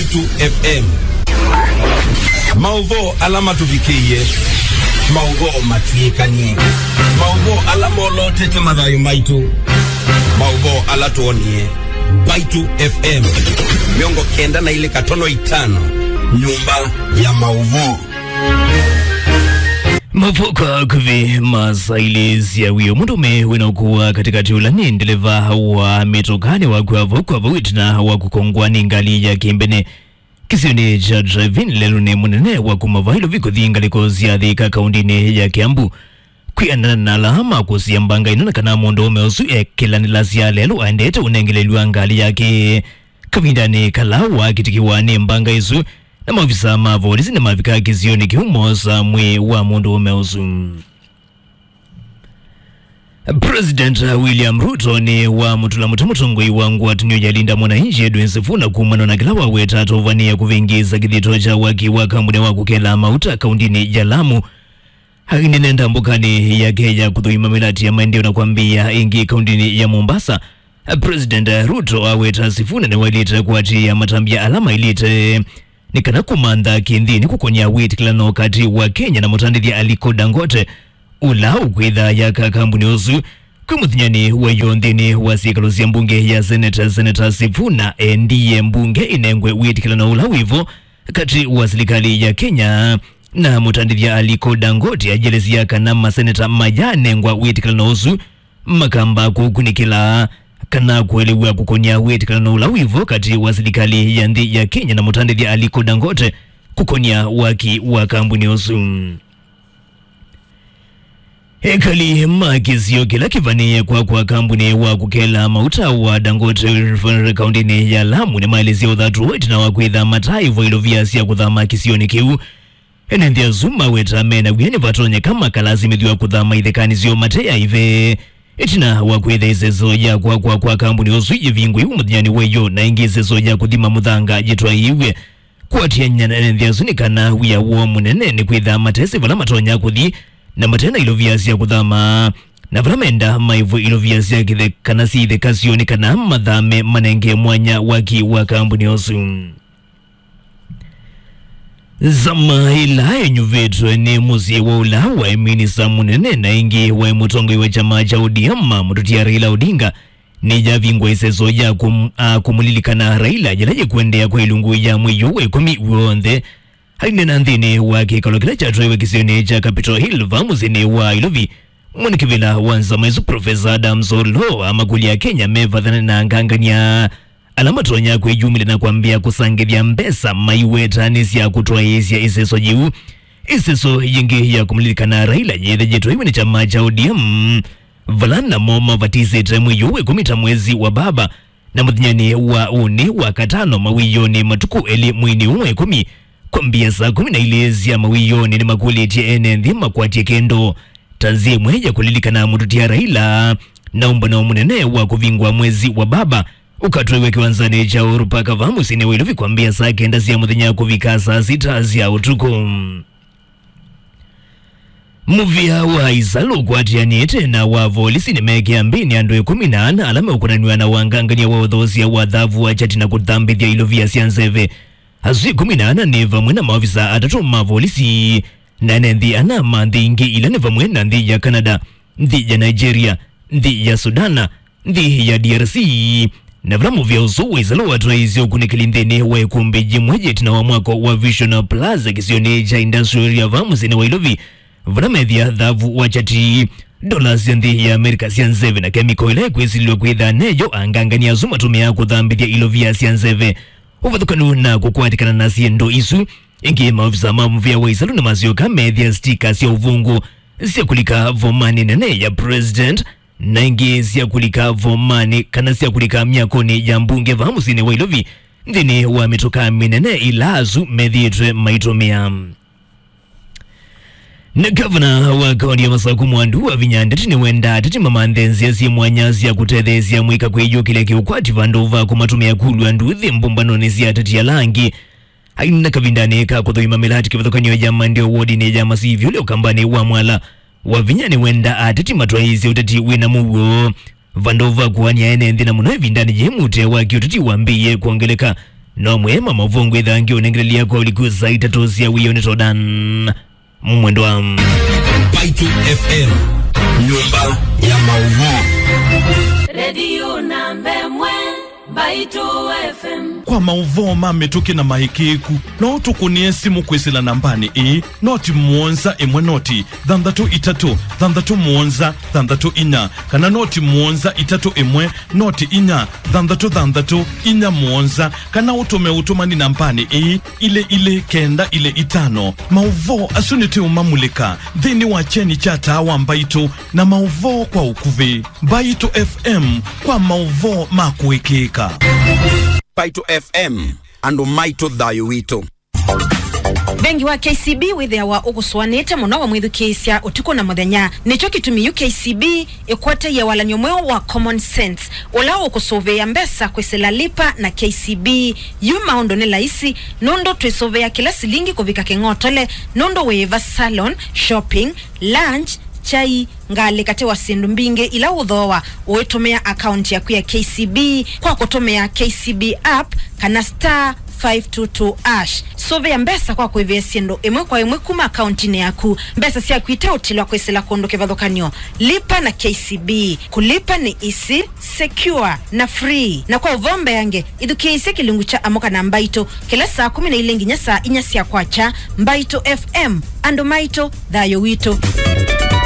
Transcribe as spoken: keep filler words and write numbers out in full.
Mbaitu F M. Maũvoo ala matũvikĩie, maũvoo matw'ĩkanie, maũvoo ala molotete mathayũ maitũ, maũvoo ala twonie. Mbaitu F M mĩongo kenda na ilĩ katono itano, nyũmba ya maũvoo. Maũvoo kwa akuvĩ ma saa ilĩ sya wĩoo. Mũndũũme wĩna ũkũũ wa katĩkatĩ ũla nĩ ndeleva wa mĩtũka nĩwakw'a vau kwa vau ĩtina wa kũkongwa nĩ ngalĩ ya kĩmbene kĩsionĩ kya Drive-In lelũnĩ mũnene wa kuma vaa Ilovi kũthi ngalĩko sya Thika kaũndĩnĩ ya Kiambu. Kwĩanana na ala makũsĩĩa mbanga ĩno, nĩ kana mũndũũme ũsu ekĩlanĩlasya lelũ aendete ũnengelelw'a ngalĩ yake. Kavindanĩ kala wakitikiwa nĩ mbanga ĩsu, na maovisaa ma volisi nĩmavika kĩsionĩ kĩu moosa mwĩĩ wa mũndũũme ũsu. President William Ruto nĩwamũtũla mũtĩ mũtongoi wa ngwatanĩo ya Linda Mwananchi Edwin Sifuna kumana na kĩla waweta atũvanĩe kũvĩngĩĩsa kĩthito kya waki wa kambuni wa kũkela mauta kaũndĩnĩ ya Lamu. Ainena ndambũkanĩ yake ya kũthũima mĩlati ya maendeeo na kwambĩĩa ĩngĩ kaũndĩnĩ ya Mombasa, President Ruto aweta Sifuna nĩwaĩlĩte kũatĩĩa matambya ala maĩlĩte nĩ kana kũmantha kĩnthĩnĩ kũkonya wĩtĩkĩlano katĩ wa Kenya na mũtandĩthya Aliko Dangote, ũla ũkwĩtha yaka kambuni ũsu. Kwĩ mũthenyanĩ wa ĩyoo nthĩnĩ wa syĩkalo sya mbunge ya Senate, Senator Sifuna endie mbunge ĩnengwe wĩtĩkĩlano ũla wĩvo katĩ wa silikalĩ ya Kenya na mũtandĩthya Aliko Dangote, ajelesya kana maseneta mayanengwa wĩtĩkĩlano ũsu makamba kũkunĩkĩla kana kũelew'a kũkonya wĩtĩkĩlano ũla wĩvo katĩ wa silikalĩ ya nthĩ ya Kenya na mũtandĩthya Aliko Dangote kũkonya waki wa kambuni ũsu. Ekali ma kĩsio kĩla kĩvanĩĩe kwakwa kambuni wa kũkela mauta wa Dangote Refinery kaũndĩnĩ ya Lamu nĩmaelesya ũthatu ĩtina wa kwĩtha mataĩvwa ilovia sya kũthama kĩsionĩ kĩu. Ene nthĩ asu maweta mena wia nĩvatonyeka makalasimĩthw'a kũthama ithekanĩ syoo mate aive. Ĩtina wa kwĩtha ĩseso ya kwakwa kwa kambuni ũsu yĩvingũiwe mũthenyanĩ wa ĩyoo, na ĩngĩ ĩseso ya kũthima mũthanga yĩtwaĩiw'e. Kũatĩanĩa na ene nthĩ asu nĩ kana wia woo mũnene nĩ kwĩtha matesĩ vala matonya kũthi, na mate na ilovia sya kũthama, na vala menda maĩvwe ilovia sya kĩthe kana syĩ itheka syoo nĩ kana mathame manenge mwanya waki wa kambuni ũsu. Nzama ĩla ĩnyuvĩtwe nĩ mũsyĩ wa ũla waĩ minista mũnene na ĩngĩ waĩ mũtongoi wa kyama kya O D M, mũtũtia Raila Odinga, nĩyavingwa ĩseso ya kũm-, a, kũmũlilikana Raila yĩla yĩkũendeea kwa ilungu ya mwei ũũ wa ĩkũmi w'onthe. Ainena nthĩnĩ wa kĩkalo kĩla kyatwaiwe kĩsionĩ kya Capitol Hill vaa mũsyĩnĩ wa Ilovi, mwene kĩvĩla wa nzama ĩsu Professor Adams Oloo amakũlya Akenya mevathane na angangany'a ala matonya kwĩyumĩlya na kwambĩĩa kũsangĩthya mbesa maiwetanĩsya kũtwaĩĩsya ĩseso yĩu. Ĩseso yĩngĩ ya kũmũlilikana Raila yĩthĩĩtwe ĩw'e nĩ kyama kya O D M, vala namo mavatisĩte mwei ũũ wa ĩkũmi ta mwezi wa baba, na mũthenyanĩ wa ũnĩ wa katano mawĩonĩ matukũ elĩ mweinĩ ũũ wa ĩkũmi, kwambĩĩa saa kũmi na ilĩ sya mawĩonĩ, nĩmakũlĩtye ene nthĩ makwatye kĩndũ ta nzĩa ĩmwe ya kũlilikana mũtũtia Raila na ũmbano mũnene wa kũvingwa mwezi wa baba ũkatwaiwe kĩwanzanĩ kya Uhuru Park vaa mũsyĩnĩ wa Ilovi kwambĩĩa saa kenda sya mũthenya kũvika saa sita sya ũtukũ. Mũvĩa wa Isalu ũkwatĩanĩte na wa volisi nĩmekĩa mbĩnĩ andũ ĩkũmi na ana ala meũkonanw'a na wangangany'a wa ũthoosya wa thavu wa kyati na kũthambĩthya ilovia sya nzeve. Asu ĩkũmi na ana nĩ vamwe na maovisa atatũ ma volisi na ene nthĩ ana ma nthĩ ingĩ, ila nĩ vamwe na nthĩ ya Canada, nthĩ ya Nigeria, nthĩ ya Sudan, nthĩ ya D R C, na vala mũvĩa ũsu wa Isalu watwaĩĩsye ũkunĩkĩli nthĩnĩ wa ĩkũmbĩ yĩmwe yĩtina wa mwako wa Vision Plaza kĩsionĩ kya Industrial Area vaa mũsyĩnĩ wa Ilovi, vala methĩa thavu wa kyati, ndola sya nthĩ ya Amerika sya nzeve na kemiko ĩla ĩkwĩsilĩlw'a kwĩtha neyo angangany'a asu matũmĩaa kũthambĩthya ilovia sya nzeve. Ũvathũkanu na kũkwatĩkana na syĩndũ isu, ĩngĩ maovisa ma mũvĩa wa Isalu nĩmasyoka meethĩa stika sya ũvũngũ sya kũlika vomanĩ nene ya President, na ingĩ sya kũlika vomanĩ kana sya kũlika myakonĩ ya mbunge vaa mũsyĩnĩ wa Ilovi nthĩnĩ wa mĩtũka mĩnene ĩla asu methĩĩtwe maitũmĩa. Na gavana wa kaunti ya Masaku Mwandu Wavinya Ndeti nĩwendaa ateti mamanthe nzĩa syĩ mwanya sya kũtetheesya mũika kwĩyũkĩlya kĩũkwati vandũ va kũmatũmĩa kulw'a nduthi mbũmbanonĩ sya ateti ala angĩ. Aina kavindanĩ ka kũthũima mĩlati kĩvathũkany'o ya maendeeo wodinĩ ya Masivi ũlĩ ũkambanĩ wa Mwala, Wavinya nĩwendaa ateti matwaĩĩsye ũteti wĩna mũuo vandũ va kũanĩa ene nthĩ, na mũno ĩvindanĩ yĩĩ mũtee wa kĩũteti wambĩĩe kwongeleka. No mwema mavungwi thangi unengelelya kwa uliku saa itatũ sya wĩoo nĩ Todan. Mwendwa. Mbaitũ F M, nyũmba ya maũvoo. Redio namba ĩmwe, Mbaitũ F M. Kwa maũvoo ma mĩtũkĩ na maĩkĩĩku, no ũtũkũnĩe simũ kwĩsĩla nambanĩ ĩĩ, noti mũonza ĩmwe noti thanthatũ itatũ thanthatũ mũonza thanthatũ inya, kana noti mũonza itatũ ĩmwe noti inya thanthatũ thanthatũ inya mũonza, kana ũtũme ũtũmani nambanĩ ĩĩ, ilĩ ilĩ kenda ilĩ itano. Maũvoo asu nĩtũũmamulĩka nthĩnĩ wa kyeni kya taa wa Mbaitũ na maũvoo kwa ũkuvĩ. Mbaitũ F M, kwa maũvoo ma kũĩkĩĩka. Mbaitũ F M, andũ maitũ, thayũ witũ. Vengi wa K C B wĩthĩawa ũkũsũanĩte mũno wamwĩthukĩĩsya ũtukũ na mũthenya. Nĩkyo kĩtumi yu K C B ĩkwatie walany'o mweũ wa Common Sense, ũla ũkũsũvĩĩa mbesa kwĩsĩla Lipa na K C B. Yu maũndũ nĩ laisi, nũndũ twĩsũvĩĩa kĩla silingi kũvika kĩng'otole, nũndũ wĩĩva salon, shopping, lunch, kyai, ngalĩ katĩ wa syĩndũ mbingĩ ila ũthooa ũitũmĩa akaunti yaku ya K C B kwa kũtũmĩa K C B app kana star five two two hash. Sũvĩa mbesa kwa kũĩvĩa syĩndũ ĩmwe kwa ĩmwe kuma akauntinĩ yaku, mbesa syaku iteũtilwa kwĩsĩla kũndũ kĩvathũkany'o. Lipa na K C B. Kũlipa nĩ easy, secure, na free. Na kwa ũvoo mbeange, ĩthukĩĩsye kĩlungu kya Amũka na Mbaitũ kĩla saa kũmi na ilĩ nginya saa inya sya kwakya. Mbaitũ F M, andũ maitũ, thayũ witũ.